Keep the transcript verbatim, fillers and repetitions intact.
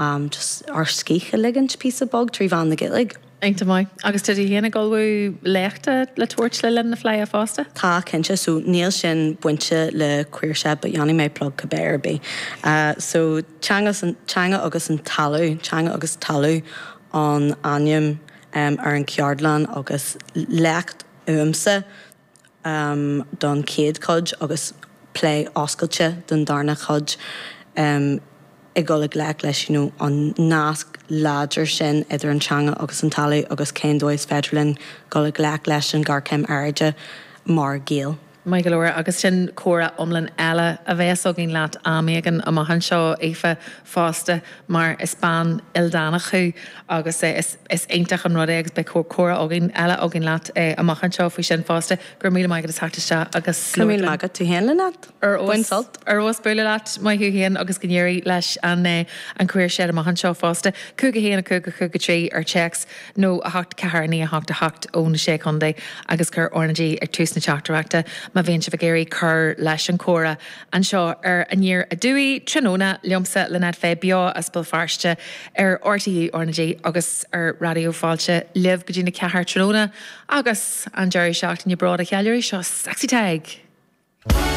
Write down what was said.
um, just ár scíth a ligint píosa beag trí mheán na Gaeilge. Iontach maith. Agus tá tú féin ag ullmhú léachta le tabhairt le linn na Fleidhe fosta? Tá cinnte so níl sin bainte le Queer Shed, but dhéanfaidh mé plug cibé ar bith. Uh, so teanga teanga agus an talamh, teanga agus talamh an ainm um, ar an ceardlann agus léacht uaimse um, don chéad chuid agus plé oscailte don darna chuid um, ag dul i ngleic leis you know, an nasc láidir sin idir an teanga agus an talamh agus cén dóigh is féidir linn dul i ngleic leis an ngéarchéim aeráide mar Ghaeil. Maith go leor agus sin comhrá iomlán eile a bheas againn leat am éigin amach anseo Aoife fosta mar is bean ildánach thú agus is, is iontach an rud é agus beidh comhrá againn eile againn leat eh, amach anseo faoi sin fosta gur míle maith agat isteach agus míle maith agat tú féin leat Bain sult ar os buile leat maith thú féin agus go n-éirí leis an eh, an Queer Shed amach anseo fosta. Cúig a haon a cúig a cúig a trí ar téacs nó a hocht ceathair naoi a hocht a hocht ó na sé chontae agus cuir RnaG ag tús na teachtaireachta má bhíonn sibh ag iarraidh cur leis an chomhrá anseo ar Aniar Aduaidh tráthnóna liomsa Lynette Fay beo as Béal Feirste ar RTÉ RnaG agus ar Raidió Fáilte libh go dtí na ceathair tráthnóna agus an deireadh seachtaine bród a cheiliúradh seo Sexy Tag.